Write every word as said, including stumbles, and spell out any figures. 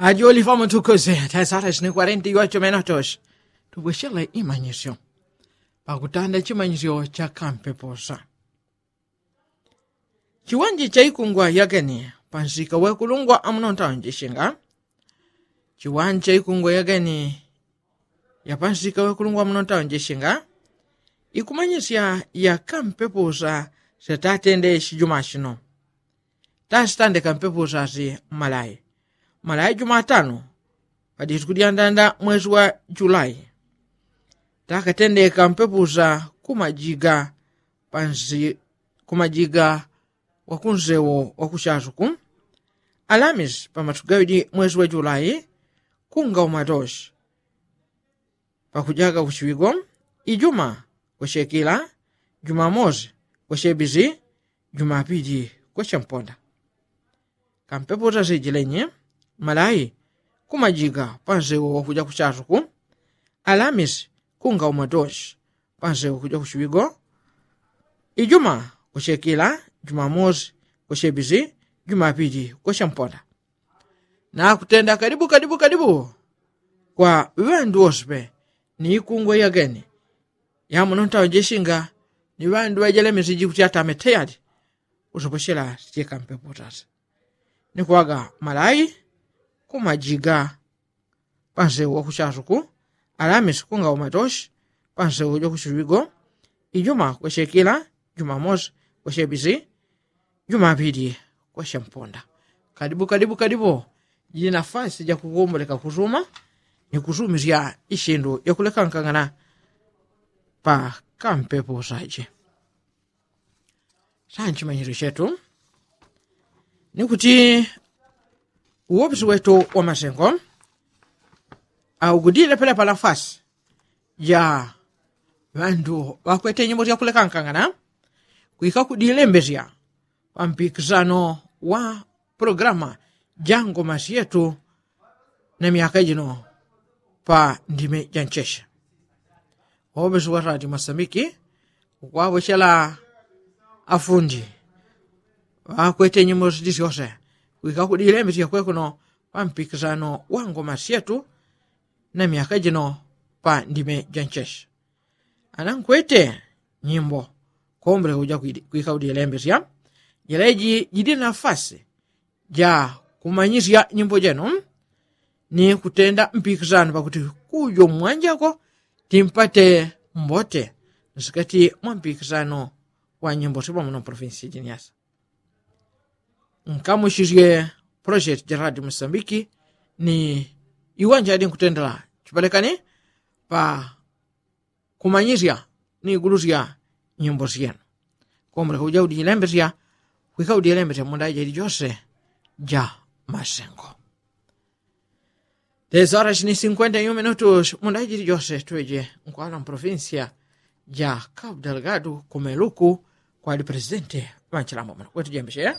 Ajoli famutukuze taisara chini kwarenti yocho menotoshi. Tubweshele imanyisyo pakutanda chimanyisyo cha kampepusa. Chiwanji cha ikungwa yageni pansika wekulungwa amuno ntaunjishinga. Chiwanji cha ikungwa yageni ya pansika wekulungwa amuno ntaunjishinga. Ikumanyisya ya kampepusa setatende shijuma shino. Tasitandeka mpepo sasi mmalayi mmalayi jumatano padisiku dyandanda mwesi wa julayi. Takatendeka mpepo sa kumajiga pansi kumajiga wakunsewo wakushasuku. Alamisi pamatugawidi mwesi wa julayi kunga umatosi pakujaga kushiwigo. Ijuma kwashekila, jumamosi kwashebisi, jumapili kwashemponda. Kampepo sasijilenyi malayi kumajiga pansewo wakuja kushasuku. Alamisi kunga umatosi pansewo wakuja kushiwigo. Ijuma kwashekila, jumamosi kwashebisi, jumapili kwashemponda. Nakutenda kadibu kadibu kadibu kwa ŵandu wose pe ni ikungwe yageni yamuno ntaunjishinga. Ni ŵandu ŵajelemesiji kuti atame teyali usoposhela sijeka mpepo sasa. Ni kuwaga malayi kumajiga pansewu wakushasuku. Alamisi kunga umatoshi pansewu wakushushuwigo. Ijuma kwashekila, jumamosi kwashebisi, jumapili kwashemponda. Kadibu kadibu kadibu jili nafasi jakukumbulika kusuma ni kusumisya ishindu yakulekankangana pa kampepo saje. Sanchimanyisyo chetu ni kuti uwopisi wetu wa masengo augudile pelepa nafasi ja ŵandu ŵakwete nyimbo syakulekankangana kwika kudilembesya pampikisano wa pulogalamu ja ngoma syetu na myaka jino pa ndime ja nchesha. Oŵesi wa radio masambiki ukwawechela afundi ŵakwete nyimbo sidi syose kwika kudilembesya kwekuno pampikisano wa ngoma syetu na myaka jino pa ndime ja nchesha. Anankwete nyimbo kombole kuja kwika kudilembesya. Jeleji jili nafasi ja kumanyisya nyimbo jenu ni kutenda mpikisano pakuti kujo mwanjako timpate mbote nsikati mwa mpikisano wa nyimbo sipamo na provinsi jiniasa. Nkamushisye project ja radio mosambiki ni iwanja adi nkutendela chipalekani pa kumanyisya ni igulusya nyimbo syenu. Kombole kuja udilembesya kwika udilembesya munda jeli jose ja masengo. Tesa horas ni sinkwenta yu minutus munda jeli jose tweje nkwala mprovincia ja cabo delgado kumeluku kwali presidente wa nchilambo muno kwetujembesye.